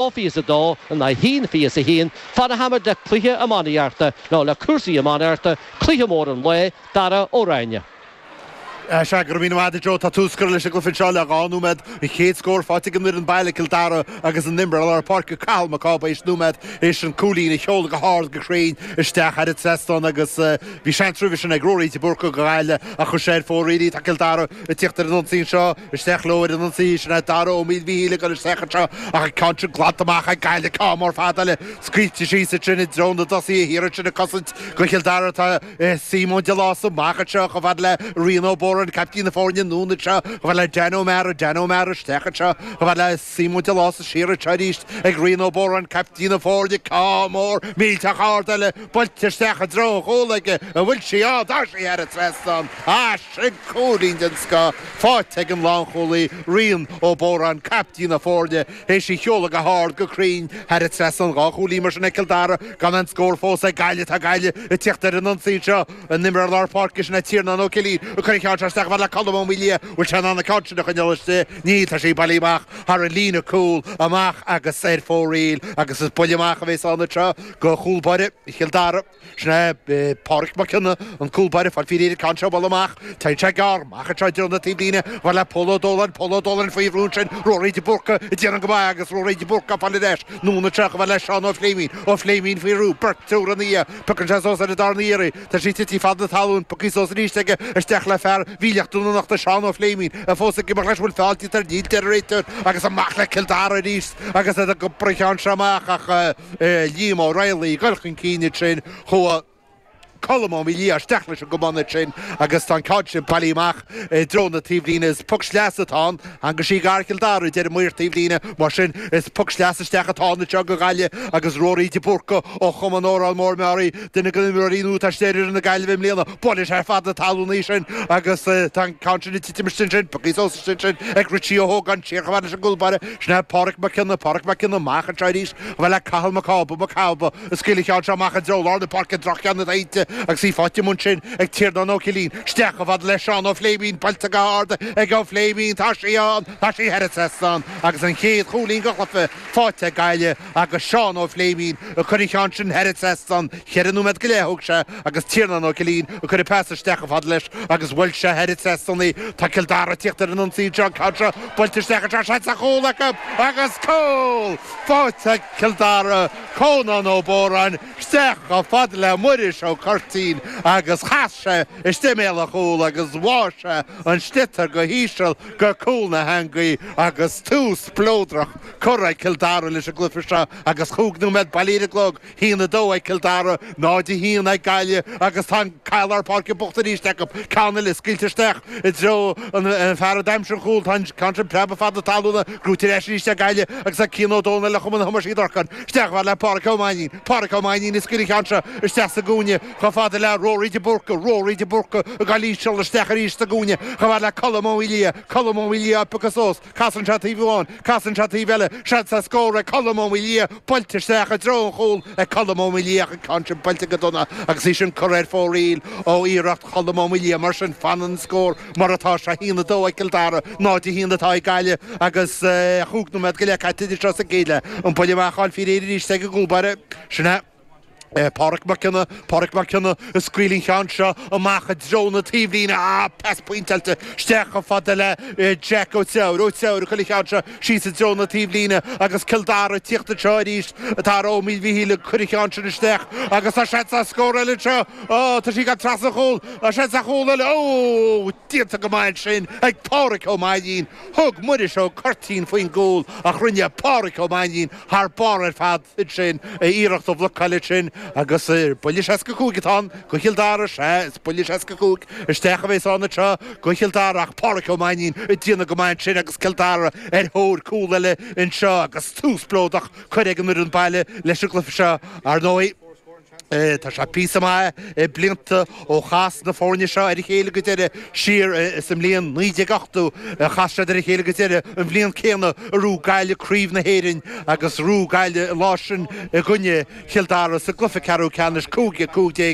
2-22 in aghaidh 1-21, fanfaimid le cluiche iománaíochta nó le cúrsaí iománaíochta, cluiche mór an lae, Dara Ó Ráinne. Sea, go raibh míle maith agat a Joe. Tá tús curtha leis an gcluiche anseo le 2 nóiméad. An chéad scór faighte ag an bhfoireann baile, Cill Dara, agus an imreoir lár páirce Cathal Mac Cába théis nóiméad théis an cúilín a sheoladh go hard go cruinn isteach thar an trasnán agus bhí seans roimhe sin ag Ruairí de Búrca do Ghaillimh ach chuir sé ar fóraoil í. Tá Cill Dara ag tíocht ar an ionsaí anseo. Isteach leo ar an ionsaí, sin é Dara Ó Maoilmhíchíl ag dul isteach anseo ach an ceann sin glanta amach ag Gaillimh, ceann mór fada eile scaoilte síos ansin i dtreo na dtosaithe thiar ansin ag cosaint do Chill Dara tá Simon de Lása amach anseo chomh fada le Rian Ó Bóráin, caiptín na foirne, anonn anseo chomh fada le Dan O'Meara, Dan O'Meara isteach anseo chomh fada le Simon de Lása siar anseo arís ag Rian Ó Bóráin, caiptín na foirne, ceann mór millteach ard eile buailte isteach i dtreo an chúil aige, an bhfuil sí ann? Tá sí thar an trasnán! Ah, sin cúilín den scoth faighte ag an lánchúlaí Rian Ó Bóráin, caiptín na foirne, théis í a sheoladh go hard, go cruinn thar an trasnán. 2 chúilín mar sin ag Cill Dara gan aon scór fós ag Gaillimh. Tá Gaillimh ag tíocht ar an ionsaí anseo. An imreoir lár páirce sin é Tiarnán Ó Cillín ag cur an cheann seo isteach chomh fada le Colm Ó Maoildhia. Bhfuil sé in ann an ceann sin a choinneáil istigh? Níl, tá sí bailithe amach thar an líne cúil, amach agus ar fóraoil agus is buille amach a bhéas ann anseo go chúl báire Chill Dara. Sin é Pádraic Mac Cionnaith, an cúl báire, fáil faoi réir an ceann seo a bhualadh amach. Téann sé gearr amach anseo i dtreo na taobhlíne, chomh fada le Pól Ó Dóláin, Pól Ó Dóláin faoi bhrú ansin, Ruairí de Búrca ag déanamh go maith agus Ruairí de Búrca ag fáil ar ais. Anonn anseo chomh fada le Seán Ó Fléimín, Ó Fléimín faoi bhrú, beirt, triúr ina dhiaidh. Piocann sé suas ar an darna iarraidh. Tá sí tite fad na talún, pioctha suas arís aige, isteach le fear Mhíleach Dún na Nochta, Seán Ó Fléimín, é fós ag imeacht leis, bhfuil feall déanta air, níl, deir an réiteoir, agus amach le Cill Dara arís agus iad ag iompar an cheann seo amach ach. Liam Ó Raghallaigh ag dul chun cinn ansin, chuaigh Colm Ó Maoildhia isteach leis an gcamán ansin agus tá an ceann sin bailithe amach i dtreo na taobhlíne. Is poc sleasa atá ann. Theanga sí gar Chill Dara, a deir an maor taobhlíne. Mar sin, is poc sleasa isteach atá ann anseo do Ghaillimh agus Ruairí de Búrca ó Chumann Órán Mór Meáraí, duine de na himreoirí nua atá istigh ar fhoireann na Gaillimhe i mbliana. Buaileann sé fad na talún í sin agus tá an ceann sin ag titim istigh ansin, pioctha suas istigh ansin ag Richie Ó hÓgáin, siar chomh fada leis an gcúl báire. Sin é Pádraic Mac Cionnaith, Pádraic Mac Cionnaith amach anseo arís. Chomh fada le Cathal Mac Cába, Mac Cába ag scaoileadh an cheann seo amach i dtreo lár na páirce, droch-cheann atá inti agus í faighte amuigh ansin ag Tiarnán Ó Cillín. Isteach chomh fada le Seán Ó Fléimín, buailte go hard ag Ó Fléimín, tá sí ann, tá sí thar an trasnán agus an chéad chúilín den chluiche faighte ag Gaillimh agus Seán Ó Fléimín ag cur an cheann sin thar an trasnán. Cheithre nóiméad go leith a thóg sé agus Tiarnán Ó Cillín ag cur an pas isteach chomh fada leis agus bhuail sé thar an trasnán í. Tá Cill Dara ag tíocht ar an ionsaí anseo, an ceann seo buailte isteach anseo, seans ar chúl acu agus cúl faighte ag Cill Dara, Cónán Ó Bóráin isteach chomh fada le Muiris Ó Curtín agus chas sé istigh i mbéal an chúil agus bháigh sé an sliotar go híseal go cúl na heangaí agus tús spleodrach curtha ag Cill Dara leis an gcluiche seo agus chúig nóiméad bailithe ar an gclog. 1-2 ag Cill Dara, 0-1 ag Gaillimh agus tá an cath lár páirce bocht arís acu. Ceann eile scaoilte isteach i dtreo an fear a d'aimsigh an chúl. Tá an ceann sin preabtha fad na talúna, gnóite ar ais arís ag Gaillimh agus ag Cian Ó Dónaill le Cumann Thomáis Uí Dhorcáin. Isteach chomh fada le Páraic Ó Mainnín. Páraic Ó Mainnín ag scaoileadh an cheann seo isteach sa gcúinne chomh fada le Rory de Búrca. Rory de Búrca ag gabháil íseal isteach arís sa gcúinne chomh fada le Colm Ó Maoildhia. Colm Ó Maoildhia á phiocadh suas. Casann sé taobh amháin, casann sé taobh eile, seans ar scór ag Colm Ó Maoildhia, buailte isteach i dtreo an chúil ag Colm Ó Maoildhia ach an ceann sin buailte go dona agus í sin curtha ar fóraoil ó iarracht Cholm Ó Maoildhia. Mar sin, fanann an scór mar atá, 1-2 ag Cill Dara, 0-1 atá ag Gaillimh agus chúig nóiméad go leith caite anseo sa gcéad leath. An buille amach á fháil faoi réir arís ag an gcúl báire. Sin é. Pádraic Mac Cionnaith, Pádraic Mac Cionnaith ag scaoileadh an cheann seo amach i dtreo na taobhlíne. Ah, pas pointeáilte isteach chomh fada le Jack Ó Treabhair. Ó Treabhair ag cur an cheann seo síos i dtreo na taobhlíne agus Cill Dara ag tíocht anseo arís. Dara Ó Maoilmhichíl ag cur an cheann sin isteach agus tá seans ar scór eile anseo. Ó, tá sí ag gabháil trasna an chúil. Tá seans ar chúl eile. Ó, déanta go maith ansin ag Pádraic Ó Mainnín. Thug Muiris Ó Curtín faoin gcúl ach rinne Pádraic Ó Mainnín thar barr ar fad. ansin, iarracht a bhlocáil ansin agus buille 65 atá ann do Chill Dara, sea, is buille 65 isteach a bhéas ann anseo do Chill Dara ach Pádraic Ó Mainnín ag déanamh go maith ansin agus Cill Dara ar thóir cúl eile anseo agus tús spleodrach curtha ag an bhfoireann baile leis an gcluiche seo, ar ndóigh. Tá sé píosa maith blianta ó chas na foirne seo ar a chéile go deireadh, siar sa mbliain 1980 a chas siad ar a chéile go deireadh, an bhliain céanna a ghnóthaigh Gaillimh Craobh na hÉireann agus ghnóthaigh Gaillimh an lá sin i gcoinne Chill Dara sa gcluiche ceathrú ceannais, 5-15.